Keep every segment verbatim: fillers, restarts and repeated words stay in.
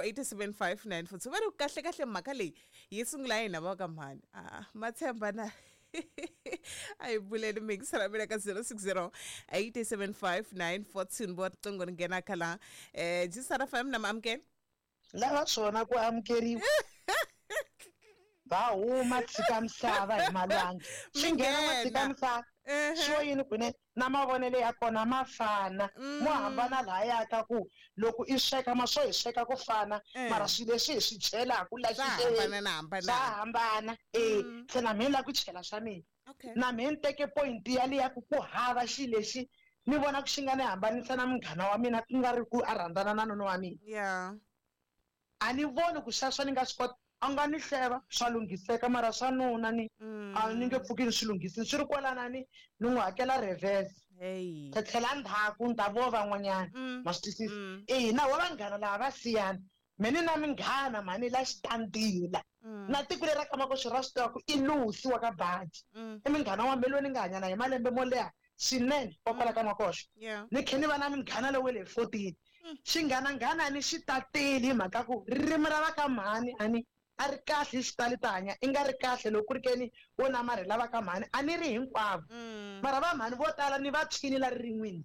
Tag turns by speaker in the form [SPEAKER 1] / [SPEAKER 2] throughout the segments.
[SPEAKER 1] eight seven five nine four two va ri kahle kahle mhaka leyi yi sungula hina va ka mhani a ma tshemba na a hi buleni mingisela mina ka zero six zero eight seven five nine four two ni vo riqingho ri nghena kha laha um jisara fm na maamukela
[SPEAKER 2] lava swona ku amukeriwa va huma tshika misava hi malwandle swi nghena ma tshika misava swo yini kunene na mavonelo ya kona ma fana mo hambana lahaya ka ku loko i sweka ma swo hi sweka ku fana mara swilo leswi hi swi chelaku la
[SPEAKER 1] xixeveni
[SPEAKER 2] swa hambana e se na mina la ku chela swa mina na mina ni teke point yaliya ku ku hava xilo lexi ni vona ku xi nga ni hambanisa na munghana wa mina ku nga ri ku a rhandzana na nuna wa mina
[SPEAKER 1] yeah
[SPEAKER 2] a ni voni ku sweswo ni nga swi kota a nga ni hleva swa lunghiseka mara swa nuna ni a ni nge pfuki ni swi lunghisini swi ri kwalana ni ni n'wi hakela reverse ta tlhela ndzhaku ni ta vo van'wanyana ma swi twisisa ina wa vanghana lava va siyana me ni na minghana mhani la xitandila na tiko leri ra ka Makoxi ra swi tiva ku i Lucy wa ka Baji i munghana wa me loyi ni nga hanya na hi malembe mo leha swinene wa kwala ka Makoxi ni khe ni va na munghana lowu wa le fourteen xinghananghana ni xi tateli hi mhaka ku ririmi ra va ka mhani a ni a ri kahle hi xitali ta hanya i nga ri kahle loko ku ri ke ni wo namarhela va ka mhani a ni ri hinkwavo mara va mhani vo tala ni va tshwini la ririn'wini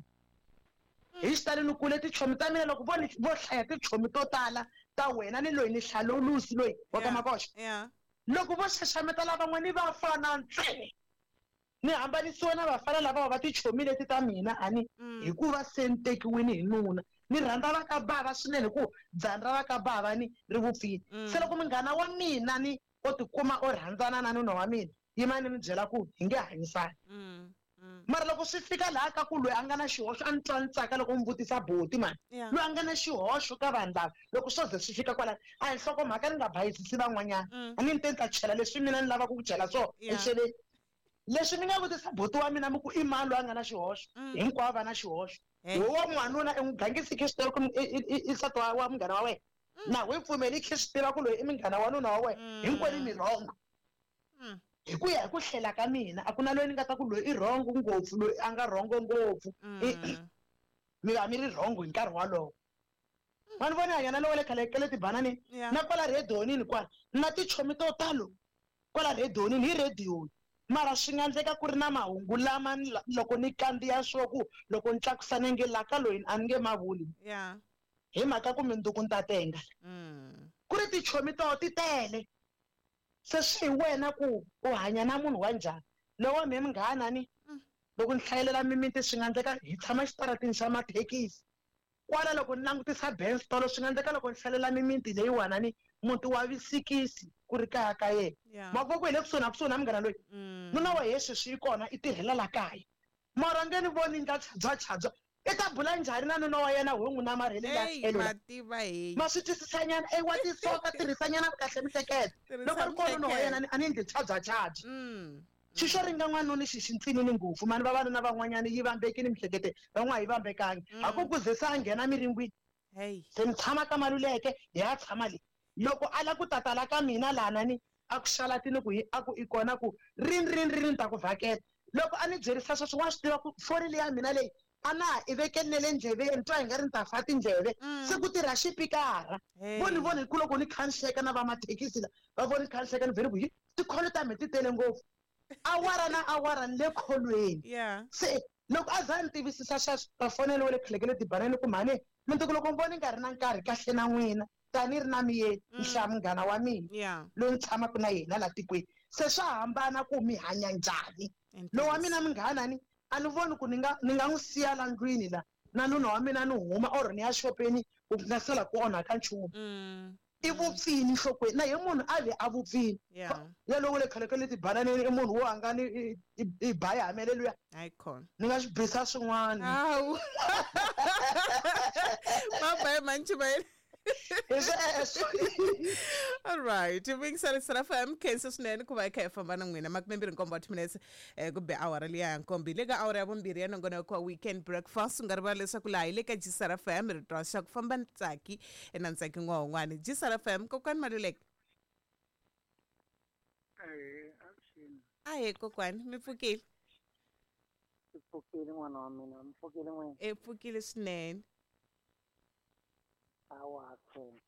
[SPEAKER 2] hi xitali ni kule tichomi ta mina loko vo ni vo hlaya tichomi to tala ta wena ni loyi ni hlaya lowu Lucy loyi wa ka Makoxi loko vo xaxameta lavan'wana va fana ntsena ni hambanisiwa na vafana lava va tichomi leti ta mina a ni hikuva se ni tekiwini hi nuna ni rhandza va ka bava swinene ku dzana ra va ka bava ni ri vupfile se loko munghana wa mina ni o tikuma o rhandzana na nuna wa mina yima ni mi byela ku hi nge hanyisani mara loko swi fika laha ka ku loyi a nga na xihoxo a ni twa ni tsaka loko mi vutisa boti mani loyi a nga na xihoxo ka vanhu lava loko swo ze swi fika kwalano a hi nhlokomhaka ni nga bayisisi van'wanyana a ni ni te ni ta chela leswi mina ni lavaka ku chela swona exeleni leswi ni nga vutisa boti wa mina mi ku i mani loyi a nga na xihoxo hinkwavo va na xihoxo wo wa n'wanuna i n'wi gangisi khe swi tiva ku i nsati wa munghana wa wena na we pfumeli khe swi tiva ku loyi i munghana wa nuna wa wena hinkwenu mi rhongo hi ku ya hi ku hlela ka mina a ku na loyi ni nga ta ku loyi i rhongo ngopfu loyi a nga rhongo ngopfu mi va mi ri rhongo hi nkarhi wolowo va ni vona hanya na lowa le khale ka le tibananini na kwala redonini kwala na tichomi to talo kwala redonini hi rediyoni mara swi nga endleka ku ri na mahungu lama loko ni kandziya swo ku loko ni tlakusa nenge la ka loyi a ni nge mavuli hi mhaka ku minduku ni ta tenga ku ri tichomi to ti tele se swi hi wena ku u hanya na munhu wa njhani lowa me munghana ni loko ni hlayelela mimiti swi nga endleka hi tshama xitaratini xa mathekisi kwala loko ni langutisa Benz tolo swi nga endleka loko ni hlalela mimiti leyiwana ni muti wa visikisi ku ri kaya ka yena mavoko hi le kusuhi na kusuhi na munghana loyi nuna wa yesu swi yi kona i tirhela la kaya mara nge ni voni ndla chadza chadza i ta bula njhani na nuna wa yena ho n'wi namarhele la tlhelo ma swi twisisanyana e wa tisoka tirhisanyana kahle mihleketo loko ri kona nuna wa yena a ni endli chadza chadza xi xo ringa n'wanuna xi xi ntsinini ngopfu mani vavanuna van'wanyana yi vambekini mihleketo van'wana yi vambekangi a ku ku ze se a nghena miringwini se ni tshama ka Maluleke hi ya tshama le loko a la ku tatala ka mina lana ni a ku xalatini ku a ku i kona ku rini rini rini ni ta ku vhakela loko a ni byerisa sweswo wa swi tiva ku foni leyi ya mina leyi a na ha i vekeni na le ndleveni twa hi nga ri ni ta fa tindleve se ku tirha xipikara vo ni voni hi ku loko ni kha ni hleka na vamathekisi la va voni kha ni hleka ni vhele ku hi tikholo ta me ti tele ngopfu awara na awara ni le kholweni se loko a za ni tivisisa sweswo ta fonela wa le khale ka le tibanani ku mhani mintuku loko ni voni nga ri na nkarhi kahle na n'wina tani ri na miyeni ni hlaya munghana wa mina loyi ni tshamaka na yena la tikweni se swa hambana ku mi hanya njhani lowu wa mina munghana ni a ni voni ku ni nga ni nga n'wi siya la ndlwini la na nuna wa mina ni huma or ni ya xopeni ku nga sala ku onhaka nchumu i vupfini nhlokweni na hi munhu a ve a vupfini yalowo le khale ka le tibananeni i munhu wo a nga ni i baya hamele luya ni nga swi bisa swin'wana
[SPEAKER 1] hawu mabaye mantshi bayele All right, vingisari Sarafa M khensa swinene ku va hi kha hi famba na n'wina makumembirhi nkombo wa timinetse ku be awara liya ya nkombo hi le ka awara ya vumbirhi ya nongonoko wa weekend breakfast u nga rivala leswaku laha hi le ka G Sarafa M rito ra xa ku famba Ntsaki na Ntsaki n'wahon'wani G Sarafa M kokwani Maluleke ahee kokwani mi pfukile
[SPEAKER 3] pfukile n'wana wa mina mi pfukile n'wina
[SPEAKER 1] e pfukile swinene
[SPEAKER 3] awa khensa